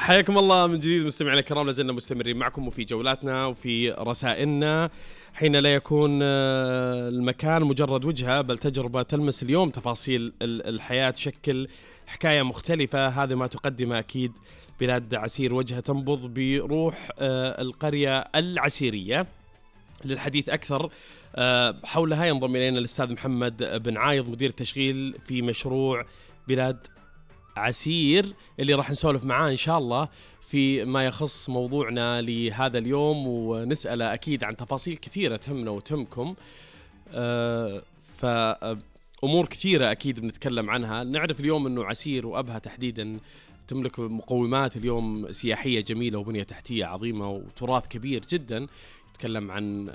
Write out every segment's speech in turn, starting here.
حياكم الله من جديد مستمعينا الكرام، لازلنا مستمرين معكم وفي جولاتنا وفي رسائلنا، حين لا يكون المكان مجرد وجهة بل تجربة تلمس اليوم تفاصيل الحياة، تشكل حكاية مختلفة. هذا ما تقدمه أكيد بلاد عسير، وجهة تنبض بروح القرية العسيرية. للحديث أكثر حولها ينضم إلينا الأستاذ محمد بن عايض، مدير التشغيل في مشروع بلاد عسير، اللي راح نسولف معاه إن شاء الله في ما يخص موضوعنا لهذا اليوم، ونسأله أكيد عن تفاصيل كثيرة تهمنا وتهمكم. فأمور كثيرة أكيد بنتكلم عنها. نعرف اليوم أنه عسير وأبها تحديدا تملك مقومات اليوم سياحية جميلة وبنية تحتية عظيمة وتراث كبير جدا. نتكلم عن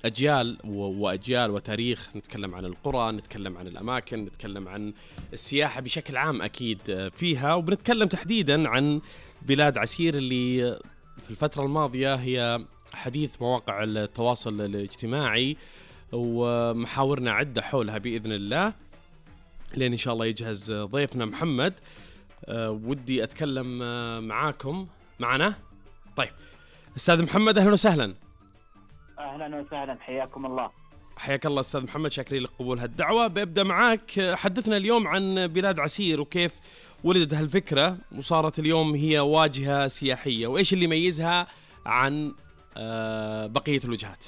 أجيال وأجيال وتاريخ، نتكلم عن القرى، نتكلم عن الأماكن، نتكلم عن السياحة بشكل عام أكيد فيها، وبنتكلم تحديدا عن بلاد عسير اللي في الفترة الماضية هي حديث مواقع التواصل الاجتماعي، ومحاورنا عدة حولها بإذن الله، لأن إن شاء الله يجهز ضيفنا محمد. ودي أتكلم معاكم معنا. طيب أستاذ محمد، أهلا وسهلا. أهلا وسهلا، حياكم الله. حياك الله أستاذ محمد، شاكرين لك قبول هالدعوة. ببدأ معاك، حدثنا اليوم عن بلاد عسير وكيف ولدت هالفكرة وصارت اليوم هي واجهة سياحية، وإيش اللي يميزها عن بقية الوجهات.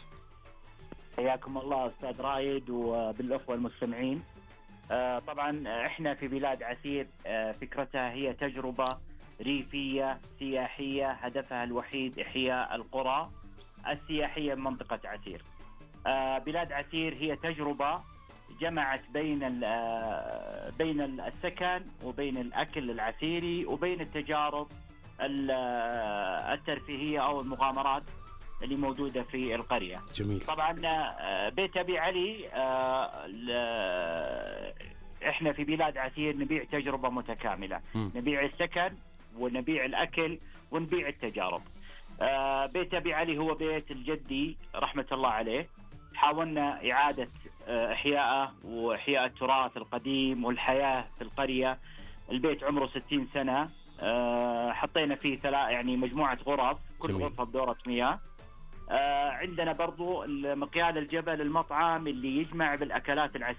حياكم الله أستاذ رايد وبالأخوة المستمعين. طبعا إحنا في بلاد عسير فكرتها هي تجربة ريفية سياحية، هدفها الوحيد إحياء القرى السياحية من منطقة عسير. بلاد عسير هي تجربة جمعت بين السكن وبين الأكل العسيري وبين التجارب الترفيهية أو المغامرات اللي موجودة في القرية. جميل. طبعا بيت أبي علي، إحنا في بلاد عسير نبيع تجربة متكاملة، نبيع السكن ونبيع الأكل ونبيع التجارب. بيت أبي علي هو بيت الجدي رحمة الله عليه، حاولنا إعادة إحياءه وإحياء التراث القديم والحياة في القرية. البيت عمره 60 سنة. حطينا فيه يعني مجموعة غرف، كل غرفة بدورة مياه. عندنا برضو مقيال الجبل، المطعم اللي يجمع بالأكلات العسيرية.